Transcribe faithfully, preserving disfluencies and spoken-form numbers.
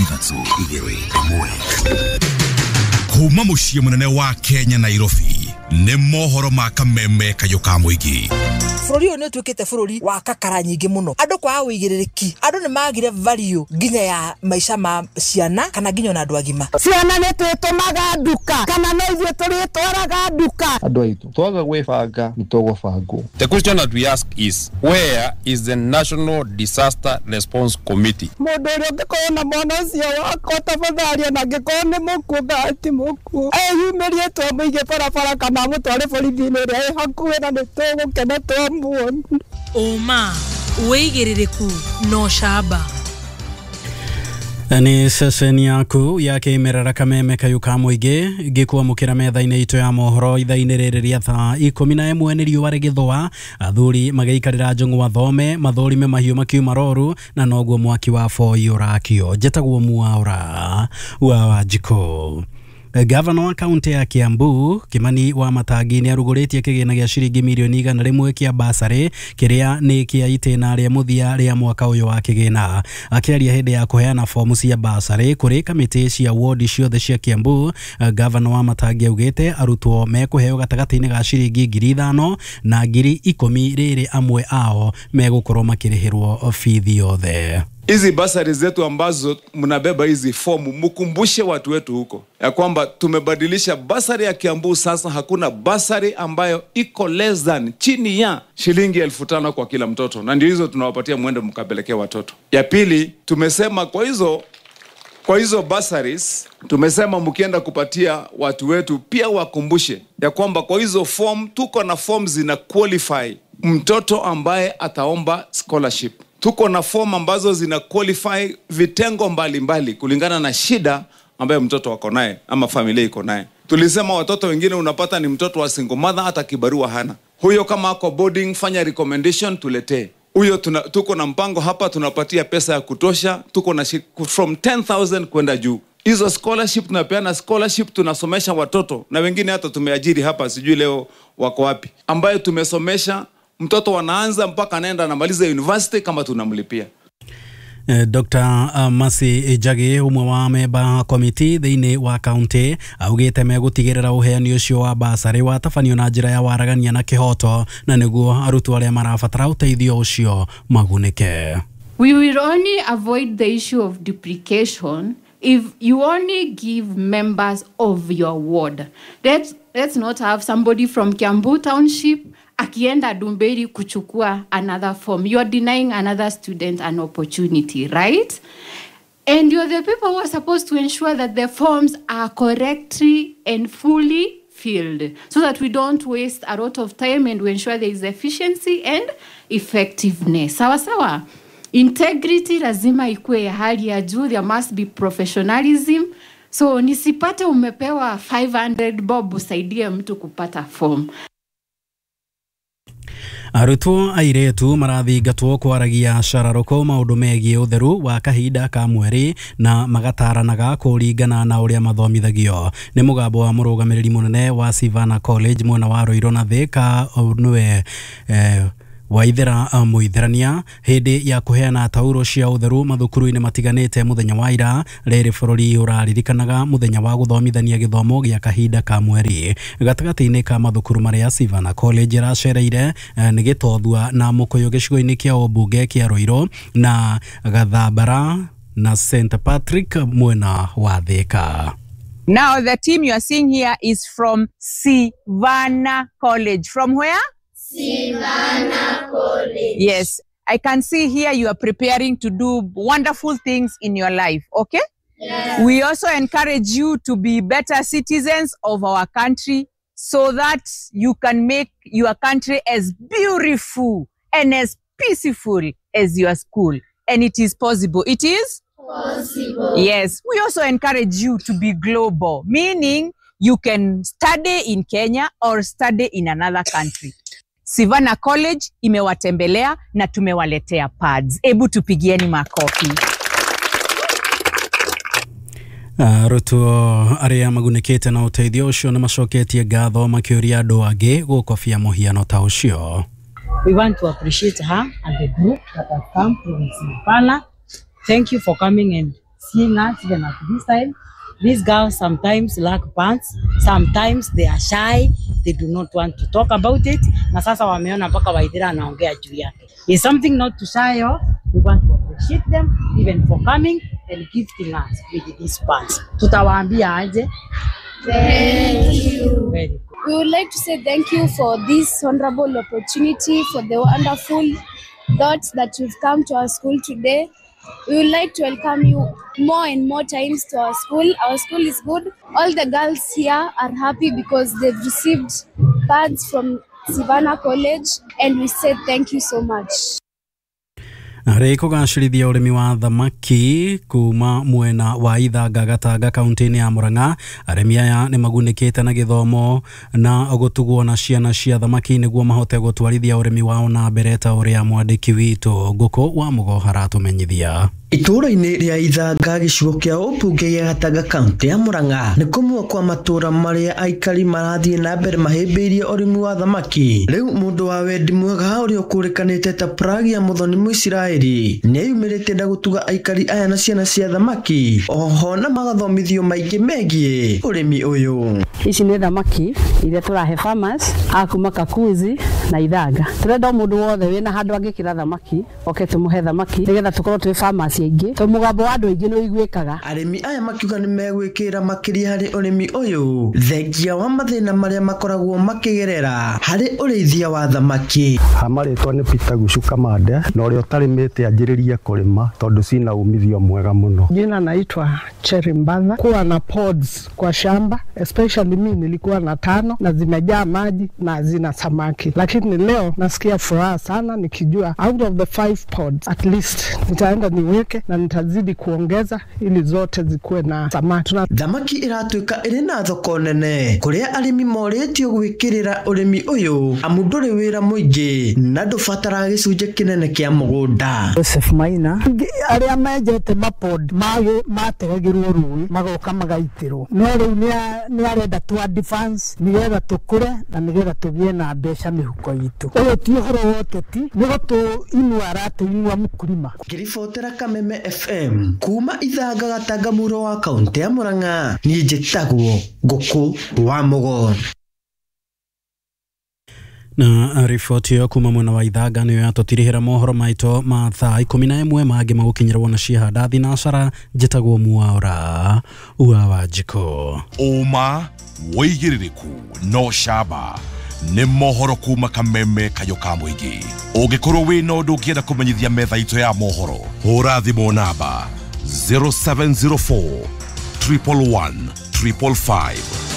Ithatũ, igĩrĩ, ĩmwe. Kuma mũciĩ mũnene wa Kenya, Nairobi, nĩ mohoro ma kameme kayũ ka mũingĩ. Bũrũri ũyũ nĩ ũtuĩkĩte bũrũri wa kakara nyingĩ mũno, andũ kwaga ũigĩrĩrĩki, andũ nĩ magire value nginya ya maica ma ciana kana nginya ona andũ agima. Ciana nĩ twĩtũmaga nduka kana no ithuĩ tũrĩtwaraga nduka. Andũ aitũ, twaga gwĩbanga nĩ tũgũbangwo. The question that we ask is, where is the National Disaster Response Committee? Mũndũ ũrĩa ũngĩkorwo na mwana ũcio wakwa, tafadhali, ona angĩkorwo nĩ mũkuũ kana ti mũkuũ, eyumĩrie twamũige barabara kana amũtware borithi-inĩ ĩrĩa ĩ hakuhĩ, na nĩ tũgũkena twamuona. Ũma, wĩigĩrĩrĩku na ũcamba. Nĩ ceceni yaku ya kĩmerera kameme kayũ ka mũingĩ ngĩkwamũkĩra metha-inĩ itũ ya mohoro ithaa-inĩ rĩrĩ rĩa thaa ikũmi na ĩmwe. Nĩ riũa rĩgĩthũa, athuri magĩikarĩra njũng'wa thome mathũrime mahiũ makiuma roru, na noguo mwaki wa boi ũrakio. Njĩtagwo Mwaũra wa Wanjikũ. Gavana wa kaunti ya Kiambu Kimani wa Matangi nĩ arugũrĩtie kĩgĩna gĩa ciringi mirioni igana rĩmwe kĩa basarĩ kĩrĩa nĩ kĩa itĩna rĩa mũthia rĩa mwaka ũyũ wa kĩgĩna. Akĩaria hĩndĩ ya kũheana fomu cia basarĩ kũrĩ kamĩtĩ cia wodi ciothe cia Kiambu, Gavana wa Matangi augĩte arutwo mekũheo gatagatĩ-inĩ ga ciringi ngiri ithano na ngiri ikũmi, rĩrĩ amwe ao megũkorwo makĩrĩhĩrwo bithi yothe. Hizi basari zetu ambazo mnabeba hizi fomu, mkumbushe watu wetu huko ya kwamba tumebadilisha basari ya Kiambu. Sasa hakuna basari ambayo iko less than, chini ya shilingi elfu tano kwa kila mtoto, na ndio hizo tunawapatia mwende mkapelekea watoto. Ya pili, tumesema kwa hizo kwa hizo bursaries, tumesema mkienda kupatia watu wetu pia wakumbushe ya kwamba kwa hizo form tuko na form zina qualify mtoto ambaye ataomba scholarship. Tuko na form ambazo zina qualify vitengo mbalimbali mbali, kulingana na shida ambayo mtoto wako naye ama familia iko naye. Tulisema watoto wengine unapata ni mtoto wa single mother, hata kibarua hana. Huyo kama ako boarding, fanya recommendation tuletee. Huyo tuna, tuko na mpango hapa, tunapatia pesa ya kutosha, tuko na from ten thousand kwenda juu. Hizo scholarship tunapeana scholarship, tunasomesha watoto na wengine hata tumeajiri hapa, sijui leo wako wapi, ambayo tumesomesha mtoto wanaanza mpaka anaenda anamaliza university kama tunamlipia. Doctor Masi Njagi, ũmwe wa memba komiti thĩinĩ wa kaunti, augĩte megũtigĩrĩra ũheani ũcio wa basarĩ watabanio na njĩra ya waragania na kĩhoto, na nĩguo arutwo arĩa marabatara ũteithio ũcio magunĩke. We will only avoid the issue of duplication if you only give members of your ward. Let's, let's not have somebody from Kiambu Township akienda Dumberi kuchukua another form. You are denying another student an opportunity, right? And you're the people who are supposed to ensure that the forms are correctly and fully filled so that we don't waste a lot of time and we ensure there is efficiency and effectiveness. Sawa sawa. Integrity lazima ikue ya hali ya juu. There must be professionalism. So nisipate umepewa five hundred bob usaidie mtu kupata form. Arutwo airĩtu marathingatwo kwaragia cararũkũ maũndũ megiĩ ũtheru wa kahinda ka mweri na magataranaga kũringana na ũrĩa mathomithagio. Nĩ mũgambo wa mũrũgamĩrĩri mũnene wa Sivana College mwena wa Ruiru na Thika, nĩwe eh, Waithera Mũitherania, hĩndĩ ya kũheana tauro cia ũtheru mathukuru-inĩ matiganĩte mũthenya wa ira. Rĩrĩ bũrũri ũraririkanaga mũthenya wa gũthomithania gĩthomo gĩa kahinda ka mweri. Gatagatĩ-inĩ ka mathukuru marĩa Sivana College ĩracereire nĩ Gĩtothua na Mũkũyũ gĩcigo-inĩ kĩa ũmbunge kĩa Ruiru na Gathambara na Saint Patrick mwena wa Thika. Now the team you are seeing here is from Sivana College. From where? Sivana College. Yes, I can see here you are preparing to do wonderful things in your life, okay? Yes. We also encourage you to be better citizens of our country so that you can make your country as beautiful and as peaceful as your school. And it is possible. It is? Possible. Yes. We also encourage you to be global, meaning you can study in Kenya or study in another country. Sivana College imewatembelea na tumewaletea pads. Ebu tupigieni makofi. Arutwo arĩa magunĩkĩte na ũteithio ũcio nĩ macoketie ngatho makĩũria andũ angĩ gũkobia mũhiano ta ũcio. We want to appreciate her and the group that have come from Sivana. Thank you for coming and seeing us even at this time. These girls sometimes lack pants, sometimes they are shy, they do not want to talk about it. Na sasa wameona mpaka Waithira anaongea juu yake. It's something not to shy off. We want to appreciate them even for coming and gifting us with these pants. Tutawaambia aje? Thank you. Very good. We would like to say thank you for this honorable opportunity, for the wonderful thoughts that you've come to our school today. We would like to welcome you more and more times to our school. Our school is good. All the girls here are happy because they've received pads from Savannah College, and we say thank you so much. Harĩ kũgacĩrithia ũrĩmi wa thamaki kuma mwena wa Ithanga Gatanga kaunti-inĩ ya Murang'a, arĩmi aya nĩ magunĩkĩte na gĩthomo na gũtugwo na ciana cia thamaki nĩguo mahote gũtwarithia ũrĩmi wao na mbere ta ũrĩa mwandĩki witũ Ngũkũ wa Mũgo aratũmenyithia. Itũũra-inĩ rĩa Ithanga gĩcigo kĩa ũmbunge gĩa Gatanga kaunti ya Murang'a nĩ kũmwe kwa matũũra marĩa aikari marathiĩ na mbere mahĩmbĩirie ũrĩmi wa thamaki. Rĩu mũndũ wa wendi mwega ũrĩa ũkũrĩkanĩte ta Pragia Muthoni Mũisiraeli nĩeyumĩrĩtie na gũtuga aikari aya na ciana cia thamaki oho na magathomithio maingĩ megiĩ ũrĩmi ũyũ. Ici nĩ thamaki iria tũrahe farmers a kuma Kakuzi na Ithanga. Tũrenda mũndũ wothe wĩna handũ angĩkĩra thamaki oke tũmũhe thamaki nĩgetha tũkorwo twĩ farmers aingĩ to mũgambo wa andũ aingĩ nĩ ũiguĩkaga. Arĩmi aya makiuga nĩ megwĩkĩra makĩria harĩ ũrĩmi ũyũ thengia wa mathĩna marĩa makoragwo makĩgerera harĩ ũrĩithia wa thamaki. Hamarĩtwa nĩ Peter Gucu Kamande na ũrĩa ũtarĩmĩte anjĩrĩrie kũrĩma tondũ cina umithio mwega mũno. Jina naitwa Cherry Mbatha. Kuwa na pods kwa shamba, especially mimi nilikuwa na tano na zimejaa maji na zina samaki, lakini leo nasikia furaha sana nikijua out of the five pods at least nitaenda niweke na nitazidi kuongeza ili zote zikuwe na samaki. Thamaki iratuĩka ĩrĩ na thoko nene kũrĩa arĩmi morĩtio gwĩkĩrĩra ũrĩmi ũyũ amu ndũrĩ wĩra mũingĩ na ndũbataraga gĩcunjĩ kĩnene kĩa mũgũnda. Joseph Maina, arĩa menjete mapod mategagĩrwo rũĩ magoka magaitĩrwo, no rĩu nĩ arenda tu advance nĩgetha tũkũre na nĩgetha tũgĩe na mbeca mĩhuko itũ. Ũyũ ti ũhoro wa ũteti, nĩ gũtũinua aratũinua mũkulima. Ngĩribotera Kameme F M kuma Ithanga Gatanga mũro wa kaunti ya Murang'a, niĩ njĩtagwo Ngũkũ wa Mũgo. Na riboti ĩyo kuma mwena wa Ithanga nĩyo yatũtirihĩra mohoro maitũ ma thaa ikũmi na ĩmwe mangĩ magũkinyĩrwo na ciahanda thinacara. Njĩtagwo Mwaura wa Wanjikũ. Ũma wĩigĩrĩrĩku no camba nĩ mohoro kuma Kameme kayũ ka mũingĩ. Ũngĩkorwo wĩna ũndũ ũngĩenda kũmenyithia metha itũ ya mohoro, hũra thimũ namba zero seven zero four triple one triple five.